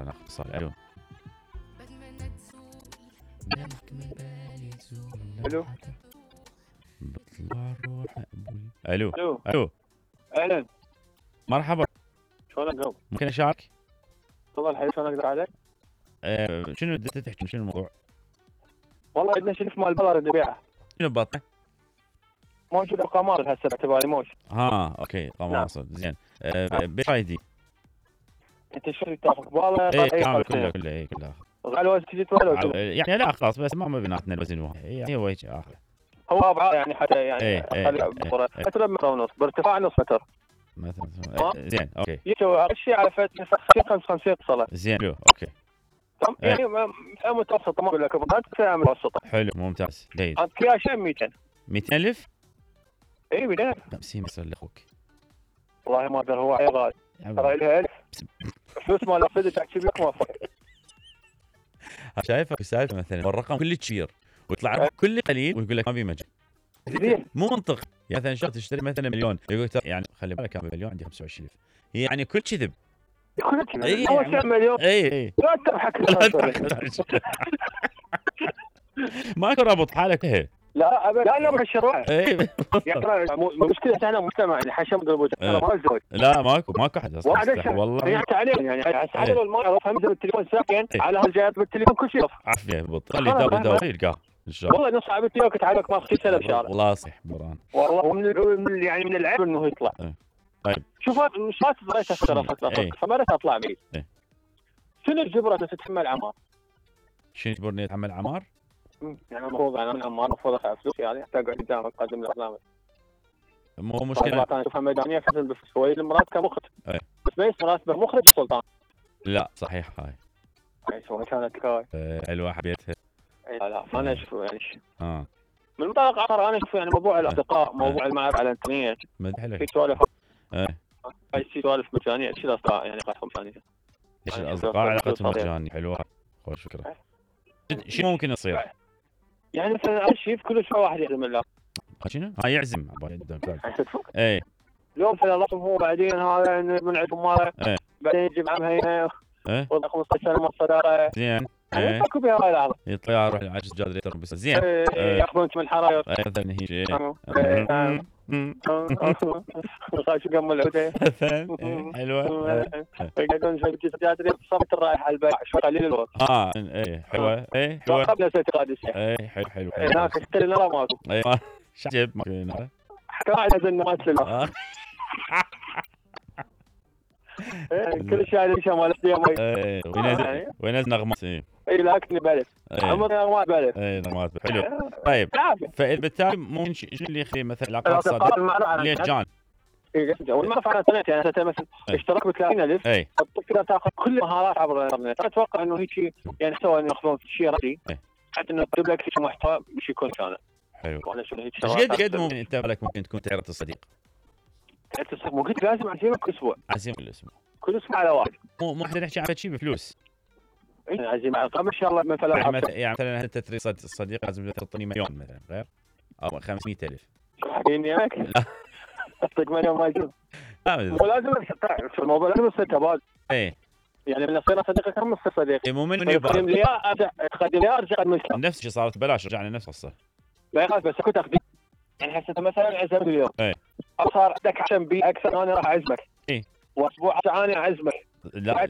ناخذ اتصال. الو الو بطلع روح مقبول. الو الو الو اهلا، مرحبا، شلونك قبل؟ ممكن اشارك؟ تفضل حبيبي، شلون اقدر عليك؟ شنو بدك تحكي؟ شنو الموضوع؟ والله عندنا شريف مال بلر نبيعه، شنو بطل؟ موجود القمار هسه باعتباري موش. اوكي قماصه زين. بيش ايدي؟ انت شو تاخذ والله؟ ايه كامل كله غالي وزن تجي تولد يعني لا خلاص، بس ما بيناتنا الوزن واحد، هي وجه اخر. هو ابعاد يعني حتى يعني إيه، خلي بصوره متر ونص بارتفاع نص متر مثلا زين اوكي. يسوي الشيء على فت 55 صله. زين حلو اوكي. يعني فئه متوسطه، ما اقول لك ابغى فئه متوسطه. حلو ممتاز جيد. انت كل شيء 200. 200,000؟ اي 200. 50 يصير لاخوك. والله ما اقدر، هو عيل غالي ترى لها 1000 فلوس مال اخذ تحكي بك موافق. شايفك السالفه مثلا والرقم كله كبير ويطلع رقم كله قليل ويقول لك ما في مجال. مو منطق. يعني مثلا شخص تشتري مثلا مليون يقول يعني خلي بالك انا مليون عندي 25,000. هي يعني كل كذب. اي هو كم مليون؟ اي لا تضحك ماكو رابط حالك هي. لا ابدا، لا مشروع. اي يعني مشكله احنا مجتمع يعني حشم قلبه ما الزوج. لا ماكو حد اصلا والله. يعني تعليم يعني حتى لو المرأة فهمت التليفون ساكن على هالجهات بالتليفون كل شيء عافيه بالضبط. خلي داوي يلقاه ان شاء الله. والله نص عبيت لك تعبك ما في سنه بشارع. والله صح بران. والله من يعني من العيب انه يطلع. طيب شوف مش ما تبغيت فما اطلع بعيد. شنو الجبره تتحمل عمار؟ شنو يجبرني اتحمل عمار؟ يعني المفروض انا من عمار المفروض ادفع فلوس يعني حتى اقعد قدامك اقدم البرنامج. مو مشكله. انا اشوفها ميدانيه كذا شوي المرات كمخرج. بس ليش راتبه مخرج سلطان؟ لا صحيح هاي. شو كانت هاي؟ حلوه حبيتها. لا انا اشوف يعني من منطلق اخر انا اشوف يعني موضوع الاصدقاء، موضوع المعرفه على الانترنت. حلو. في سوالف هاي سوالف مجانيه، ايش الاصدقاء يعني علاقتهم مجانيه؟ ايش الاصدقاء علاقتهم مجانيه؟ حلوه خوش فكره. شو ممكن يصير؟ يعني مثلا شيء كل شوي واحد يعزم الله. شنو؟ يعزم اي اليوم في الله هو بعدين هذا من عندهم ماله بعدين يجيب عمها هنا وضع 15 سنه ما صداره زين. اكو بها هاي اللحظه يطلع يروح العجز جادري بس زين. ياخذونك من الحراير مثلا هيجي شو قم العوده حلوه. يقعدون شوي جادري صمت الرائحه البيع شوي قليل الوقت. حلوه. حلوه قبل اعتقاد الشيء. حلو هناك اشتري نرى ماكو. شجب ماكو نرى. قاعد ازن ما تسلم. كل شيء على شيء مال الصيام. وينزل نغمات. اي لكن بلد عمر نغمات بلد. نغمات حلو. طيب فبالتالي ممكن شو اللي يخلي مثلا علاقات صداقه ليش جان؟ والمعرفة على الانترنت يعني انت مثلا اشتراك ب 30,000 تقدر تاخذ كل المهارات عبر الانترنت. انا اتوقع انه هيك يعني سوى انه ياخذون شيء رأسي حتى انه يكتب لك شيء محتوى مش يكون كامل. حلو. ايش قد ممكن انت بالك ممكن تكون تعرف الصديق؟ ممكن لازم اعزمك كل اسبوع. عزيمه كل اسبوع على واحد. مو احنا نحكي عن شيء بفلوس. عزيمه على ان شاء الله مثلا يعني مثلا انت تريد صديق لازم تعطيني مليون مثلا غير او 500,000. شو حكيني هيك؟ اعطيك مليون ما يجوز. ولازم في الموضوع لازم يصير تبادل. يعني من صرنا صديقك هم نصير صديقي. مو من يبغى تقدم لي تقدم لي ارجع نفس الشيء صارت ببلاش رجعنا نفس القصه. لا يخالف بس اكو تقديم. يعني هسه مثلا عزمت اليوم صار عندك عشان بي اكثر انا راح اعزمك. واسبوع ثاني اعزمك. لا